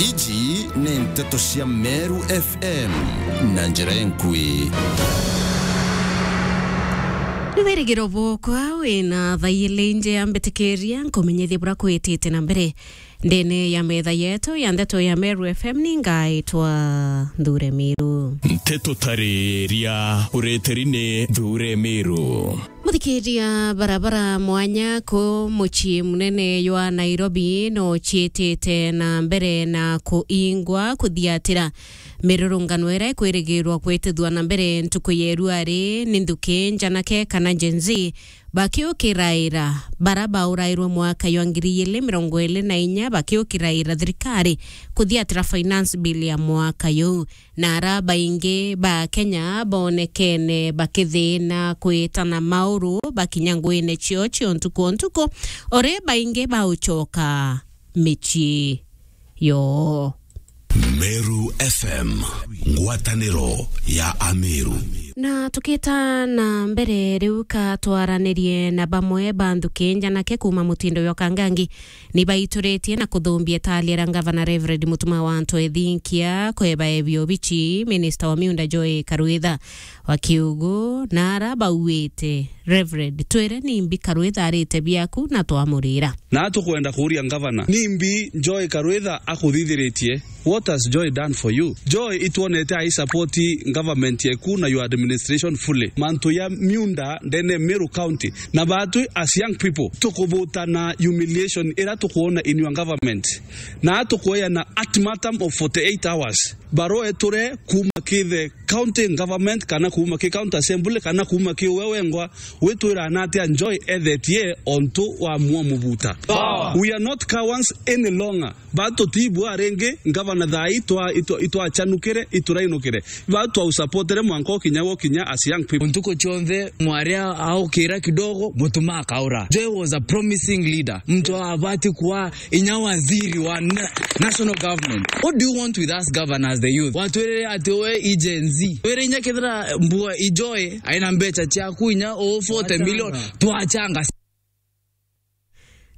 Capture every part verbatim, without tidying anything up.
Iji ni nteto cia Meru F M na njira enkui. Ni wirigiro bwokwa wina thaa ili nje ya mbitikiria nkumenyithie bura kwitite na mbere ndene ya metha yetu ya ndeto ya Meru F M. Ni ngaitwa Nthure Miru. Nteto tariria ureteri ni Nthure Miru. Muthikiria, barabara mwanya ku mucii munene jwa Nairobi no ciitite na mbere na kuingwa kuthiatira. Mirurungano iria ikwirigirwa kwitithua na mbere ntuku ya iruari ni nthuki njanake kana Gen Z bakiukiraira bara baurairwe mwaka jwa ngiri ili mirongo ili na inya bakiukiraira thirikari kuthiatira finance bill ya mwaka juu. Na ara baingi ba Kenya bonekene bakithina kwitana mauru bakinya nguine cio cio ntuku o ntuku, ori baingi baucoka micii yoo. Meru F M, ngwataniro ya Ameru. Na tukita na mbere riu, ka twaranirie na bamwe ba nthuki njanake kuuma mutindo jwa Kangangi. Ni baituritie na kuthumbia itali ria Ngavana Reverend Mutuma wa Anto Ethinkia kweba ebia obici, Minista wa Miunda Joy Karwitha wa Kiugu, na ara bauite, Reverend, twire nimbi Karwitha arite biaku na twamurira. Na tukwenda kuuria Ngavana, nimbi Joy Karwitha akuthithiritie? What has Joy done for you? Joy, itwonete ai support government yeku na your administration fully. Mantu ya miunda ndene Meru County. Na batwi as young people, tukubuta na humiliation ira tukuona in your government. Na tukueana ultimatum of forty-eight hours. Barua eture kuuma ki the county government, kana kuuma ki county assembly, kana kuuma ki we wengwa, witwira na atia Joy ethetie ontu wa mwa mubuta. Power. We are not cowards any longer. Ba tutibua ringi, ngavana thaa ii twa-, itwa-, itwachanukire, iturainukire. Ba twausapotere mwanka ukinya gwa kinya as young people. Ntuku cionthe mwaria aukira kidogo, Mutuma akaura. Joy was a promising leader. Mtu abati kuwa inya waziri wa na-, national government. What do you want with us governors, the youth? Watwirire ati we i Gen Z. Wire inya kethira mbua i Joy, aina mbecha ciaku inya o forty million, twachanga.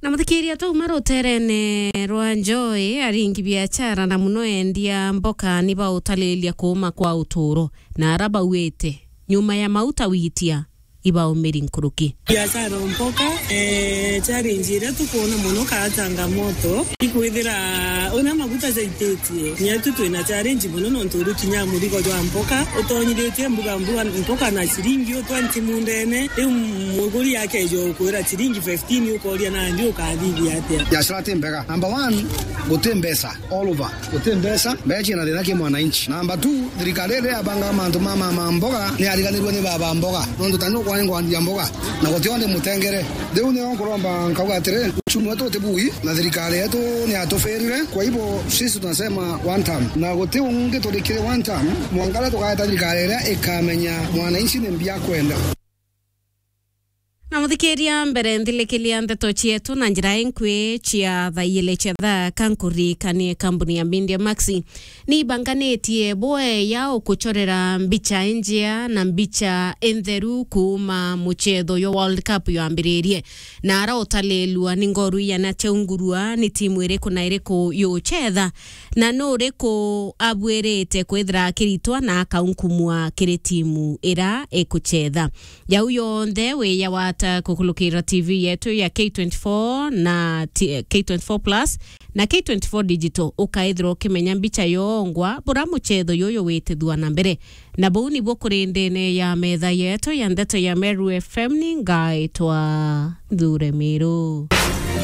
Na muthikiria, twauma ruterene rwa Joy, aringi biachara na muno endia mboka ni bautalilia kuuma kwa uturo, na ara bauite nyuma ya mauta witia ibaumiri nkuruki. Biashara mboka, eh, challenge iria tukuona muno kaa changamoto ikwithira una maguta jaititie. Nyetu twina challenge muno nontu uri kinya murigo jwa mboka utonyithitie mbuga mbuga mboka na ciringi u twenty mundene. Riu muguri akeja ukwira ciringi fifteen, ukoria nandi ukathithia atia? Biashara ti mbega. Number one, guti mbeca all over. Guti mbeca, mbeca ciina thina ki mwananchi. Number two, thirikari iria yabanga mantu ma, ma, ma mboga ni yariganirwe ni baba mboga. Nontu tani ukwa ngwandia mboga, na guti onde mutengere. Riu nio nkuromba nkauga atiri, uchumi wetu uti bui, na thirikari yetu ni yatufirire. Kwa hivyo, sisi tunasema one term. Na guti ungi turikire one term, mwanka riria tukaeta thirikari iria ikamenya mwananchi ni mbia akwenda. Na muthikiria, mbere nthilikiria ndeto cietu na njira inkui cia thaa ili cia thaa, ka nkuririkanie kambuni ya Media Max ni ibanganitie bweya ukuchorera mbicha injia na mbicha intheru kuuma muchetho jwa World Cup jwambiririe. Na ara utalilua ni ngoru iana ciaungurua, ni timu iriku na iriku yuchetha, na nu uriku abuirite kwithira akiritwa na akaunkumua kiri timu ira ikuchetha. Jau yonthe wiyawata kukulukira T V yetu ya K twenty-four na T-, K twenty-four Plus na K twenty-four Digital, ukaithirwa ukimenya mbicha yongwa bura muchetho yuyu witithua na mbere. Na buu nibuo kuri ndene ya metha yetu ya ndeto ya Meru F M. Ni ngaitwa Nthure Miru.